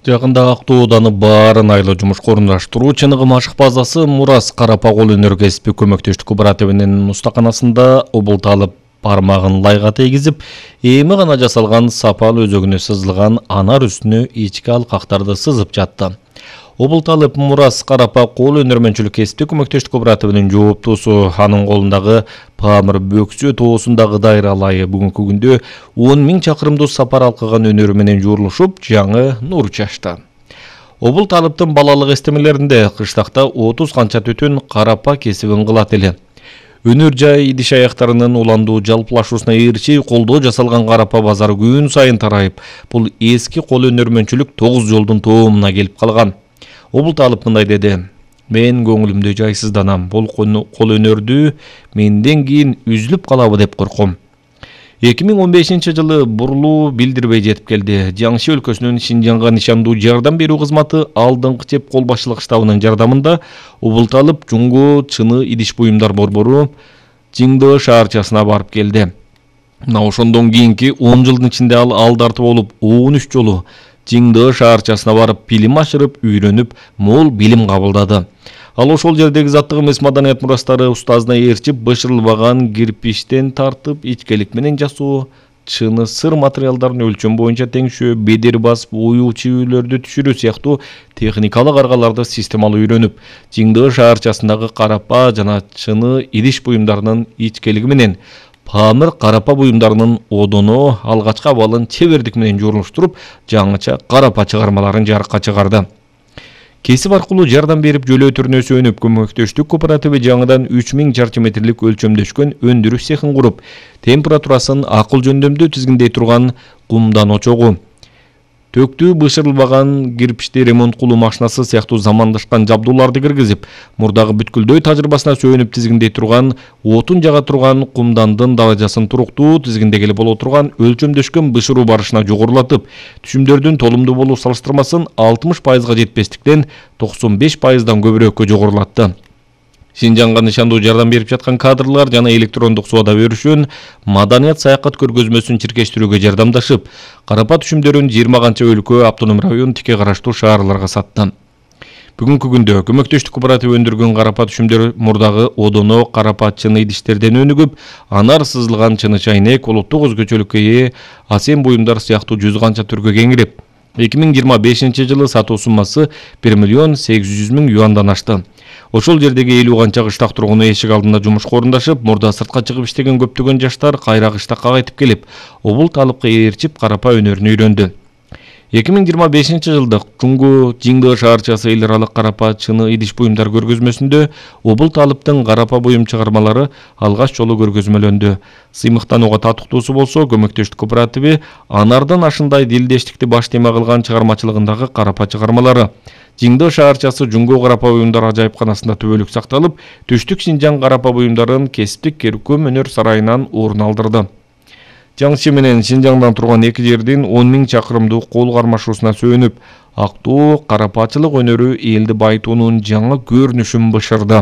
Жакында Актооданы баарын айлы жумушка орундаштыруу чыныгы машык базасы Мурас Карапа кол өнөр кесип көмөктөштүк кооперативинин устаканасында убулт алып бармагын лайга тийгизип, эми гана жасалган сапал өзөгүнө сызылган анар үстүнө ички алкактарды сызып жатты. Убулт алып Мурас Карапа кол өнөрмөнчүлүк кесиптик көмөктөштүк кооперативинин жооптуусу анын колундагы Памыр Бөксө тоосундагы дайра алайы бүгүнкү күндө 10 000 чакырымдуу сапар алкаган өнөрү менен жуурулушуп, жаңы нур чачты. Убулт алыптын балалык эстемелеринде кыштакта 30 канча түтүн карапа кесибин кылат эле. Өнөр жай идиш аяктарынын уландуу жалпылашуусуна ээрчи колдоо жасалган карапа базары күн сайын тарайып, бул эски кол өнөрмөнчүлүк 9 жолдун тоомуна келип калган. Убулт алып мындай деди: "Мен көңүлүмдө жайсызданам. Бул кол өнөрдү менден кийин үзүлүп калабы деп корком." 2015-жылы бурлуу билдирбей жетип келди. Жаңшы өлкөсүнүн Шинжаңга нишандуу жардам берүү кызматы алдыңкы чеп кол башчылык штабынын жардамында убулт алып жуңго чыны идиш буюмдар борбору Жиңдөө шаарчасына барып келди. Мына ошондон кийинки 10 жылдын ичинде ал тартып болуп 13 жолу Жиңдөө шаарчасына барып билим ашырып, үйрөнүп, мол билим кабылдады. Ал ошол жердеги заттык эмес маданият мурастары устазына ээрчип, бышырылбаган кирпичтен тартып, ичкелик менен жасоо, чыны сыр материалдарын өлчөм боюнча теңшөө, бедер басып, уюу чибүүлөрдү түшүрүү сыяктуу техникалык аргаларды системалуу үйрөнүп, Жиңдөө шаарчасындагы карапа жана чыны идиш буюмдарынын ичкелиги менен Памыр карапа буюмдарынын одоно алгачкы абалын чебердик менен жуурулуштуруп, жаңыча карапа чыгармаларын жарыкка чыгарды. Кесип аркылуу жардам берип жөлөө түрүнө сүйөнүп, көмөктөштүк кооперативи жаңыдан 3000 чарчы метрлик өлчөмдөшкөн өндүрүш цехин куруп, температурасын акыл жөндөмдүү тизгиндей турган кумдан очогу, төктүү бышырылбаган кирпичти ремонт кылуу машинасы сыяктуу замандашкан жабдууларды киргизип, мурдагы бүткүлдөй тажрыйбасына сүйөнүп тизгиндей турган отун жага турган кумдандын даражасын туруктуу тизгиндегеле боло турган өлчөмдөшкөн бышыруу барышына жогорулатып, түшүмдөрдүн толумдуу болуу салыштырмасын 60% жетпестиктен 95%дан көбүрөөккө жогорулатты. Шинжаңга нишандуу жардам берип жаткан кадрлар жана электрондук соода өрүшүн маданият саякат көргөзмөсүн чиркештирүүгө жардамдашып, карапа түшүмдөрүн 20 канча өлкө, автоном район, тике караштуу шаарларга сатты. Бүгүнкү күндө көмөктөштүк кооперативи өндүргөн карапа түшүмдөр мурдагы одоно карапа чыны идиштерден өнүгүп, анар сызылган чыны чайнек, улуттук өзгөчөлүккө ээ асем буюмдар сыяктуу 100 канча түргө кеңирип, 2025-жылы сатуу суммасы 1 800 000 юандан ашты. Ошол жердеги 50 канча кыштак тургуну эшик алдында жумушка орундашып, мурда сыртка чыгып иштеген көптөгөн жаштар кайра кыштакка кайтып келип, убулт алыпка ээрчип карапа өнөрүн үйрөндү. 2025-жылдык Жиңдөө шаарчасы эл аралык карапа чыны идиш буюмдар көргөзмөсүндө убулт алыптын карапа буюм чыгармалары алгач жолу көргөзмөлөндү. Сыймыктанууга татыктуусу болсо, көмөктөштүк кооперативи анардан ашындай дилдештикти баш тема кылган чыгармачылыгындагы карапа чыгармалары. Жиңдөө шаарчасы Жуңго карапа буюмдар ажайыпканасында түбөлүк сакталып, Түштүк Шинжаң карапа буюмдарын кесиптик көркөм өнөр сарайынан орун алдырды. Жаңчы менен Шинжаңдан турган эки жердин 10 000 чакырымдуу кол кармашуусуна сүйөнүп, Актоо карапачылык өнөрү элди байытуунун жаңы көрүнүшүн бышырды.